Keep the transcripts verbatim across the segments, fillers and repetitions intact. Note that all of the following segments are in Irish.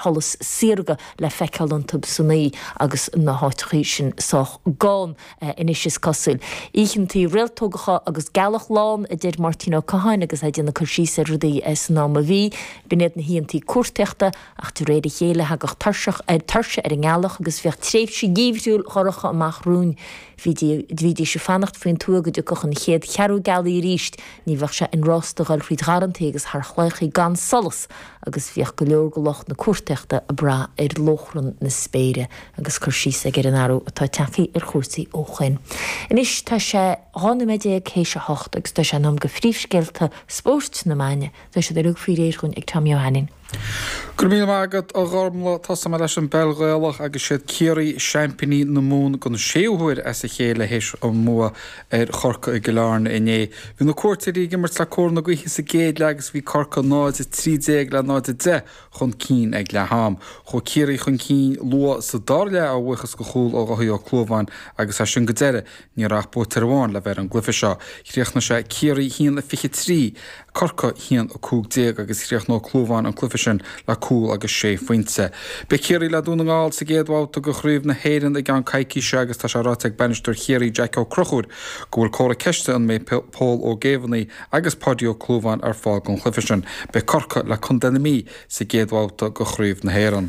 Sholas saorga le feiceáil iontu san oíche agus na háiteachaí sin sách gann anois is cosúil. Oícheantaí réaltógacha agus gealach lán a deir Máirtín Ó Catháin agus é ag déanamh cur síos ar rudaí san am a bhí. B'in iad na hoícheantaí cuartaíochta ach de réir a chéile thagadh tuirseach ar tuirse ar an ngealach agus bhíodh tréimhse gheimhriúil dhorcha amach romhainn. Bhídís ag fanacht faoin tuath go dtiocfadh an chéad cheathrú gealaí arís, ní bheadh sé inrásta dhul thríd gharrantaí agus thar chlaíochaí gan solas agus bhíodh go leor de lucht na cuartaíochta ag brath ar lóchrann na spéire agus cur síos aige ar an athrú atá tagtha ar chúrsaí ó shoin. Anois tá sé dhá nóiméad déag théis a hocht agus tá sé in am do phríomhscéalta spóirt na maidine. Tá siad uilig faoi réir dhúinn ag Tommy Ó hAinnín. Go raibh míle maith agat a Ghormlaith. Tosóidh mé leis an bpeil Ghaelach agus siad Ciarraí seaimpíní na Mumhan don séú huair as a chéile théis an mbua ar Chorcaigh i gCill Airne inné. Bhí na cuairteoirí ag imirt le cóir na gaoithe sa gcéad leath agus bhí Corcaigh náid a trí déag le náid a deich chun cinn ag leath am. Chuaigh Ciarraí chun cinn luath sa dara leath a bhuíochas do chúl ó Dháithí Ó Clúmháin agus as sin go deireadh ní raibh ach buaiteoir amháin le bheith ar an gcluiche seo. Chríochnaigh sé Ciarraí a haon a fiche trí, Corcaigh a haon a cúig déag agus chríochnaigh Ó Clúmháin an cluiche sin le cúl agus sé phointe. Beidh Ciarraí le Dún na nGall sa gcéad bhabhta de Chraobh na hÉireann i gceann coicíse agus tá sé ráite ag bainisteoir Chiarraí Jack Ó Conchúir go bhfuil comhartha ceiste an mbeidh Pól Ó Géibheannaigh agus Páidí Ó Clúmháin ar fáil don chluiche sin. Beidh Corcaigh le Contae na Mí sa gcéad bhabhta de Chraobh na hÉireann.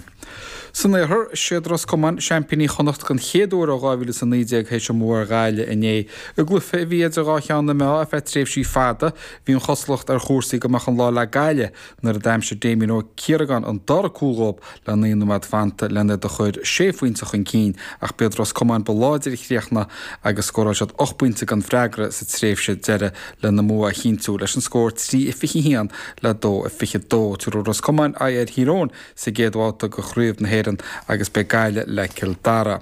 San Iarthar, siad Ros Comáin seaimpíní Chonnacht den chéad uair ó dhá mhíle is a naoi déag théis a mbua ar Ghaillimh inné. I gcluiche a bhí idir dhá cheann na meá ar feadh tréimhsí fada, bhí an chosúlacht ar chúrsaí go mbeadh an lá le Gaillimh nuair a d'aimsigh Damien Ó Ciaragáin an dara cúl dhóibh le naoi nóiméad fanta lena iad a chur sé phointe chun cinn ach b'iad Ros Comáin ba láidre a chríochnaigh agus scóráil siad ocht bpointe gan freagra sa tréimhse deiridh lena mbua a chinntiú leis an scór trí a fiche a haon le dó a fiche a dó. Tabharfaidh Ros Comáin aghaidh ar Thír Eoghain sa gcéad bhabhta de Chraobh na hÉireann agus beidh Gaillimh le Cill Dara.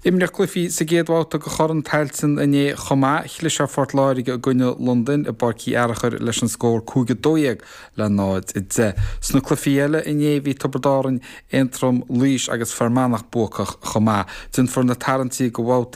Imríodh cluichí sa gcéad bhabhta de Chorn Tailteann inné chomh maith. Chlis ar Phort Láirge i gcoinne Londain i bPáirc Uí Fhearchair leis an scór cúig a dó dhéag le náid a deich. Sna cluichí eile inné bhí Tiobraid Árann, Aontroim, Laois agus Fear Manach buacach chomh maith. Déanfar na tarraingtí do bhabhtaí.